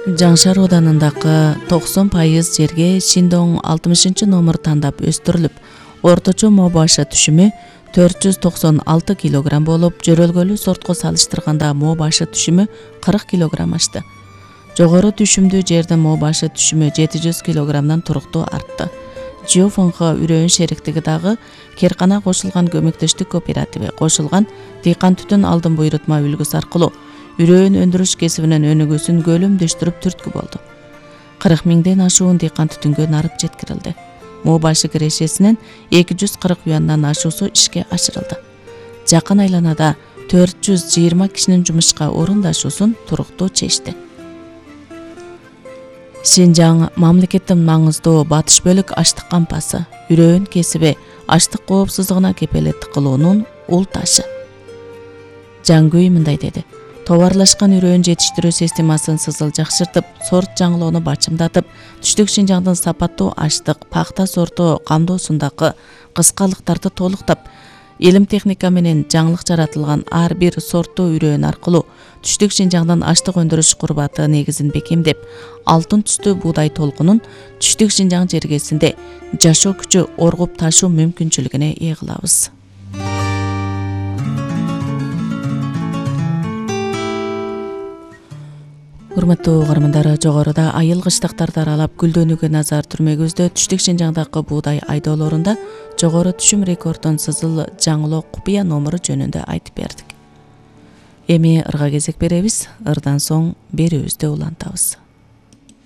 Жаңшар ауданындагы 90% жерге Шиндоң 60 номер тандап өстүрүлүп, орточо мо башы түшүмү 496 кг болуп, жөрөлгөлүү сортко салыштырганда мо башы түшүмү 40 кг ашты. Жогору түшүмдүү жердин мо башы түшүмү 700 кг туруктуу артты. Жиофонго Үрөөн шериктиги дагы Керкана кошулган көмөктөштүк кооперативи кошулган дыйкан түтүн алдын буйрутма үлгүсү аркылуу Үрөөн өндүрүш кесибинин өнүгүүсүн көлөмдөштүрүп түрткү болду. 40 миңден ашуун дыйкан түтүнгө нарып жеткирилди. Мо башы кирешесинен 240 юандан ашуусу ишке ашырылды. Жакын айланада 420 кишинин жумушка орундашуусун туруктуу чечти. Шинжаң мамлекеттин маңыздуу батыш бөлүк аштык кампасы, Үрөөн кесиби аштык коопсуздугуна кепелеттик кылуунун ул ташы. Жаңгүй мындай деди: товарлашкан үрөөн жетиштирүү системасын сызыл жакшыртып, сорт жаңылоону бачымдатып, түштүк Шинжаңдын сапаттуу аштык, пахта сорту камдоосундагы кыскалыктарды толуктап, илим техника менен жаңылык жаратылган ар бир сорттуу үрөөн аркылуу түштүк Шинжаңдын аштык өндүрүш курбаты негизин бекемдеп, алтын түстүү буудай толкунун түштүк Шинжаң жергесинде жашоо күчү оргуп ташуу мүмкүнчүлүгүнө ээ кылабыз. Урматтуу угармандар, жогоруда айыл кыштактарды аралап гүлдөнүүгө назар түрмөгүбүздө түштүк Шинжаңдагы буудай айдоолорунда жогору түшүм рекордун сызыл жаңылоо купуя номеру жөнүндө айтып бердик. Эми ырга кезек беребиз, ырдан соң берүүбүздү улантабыз.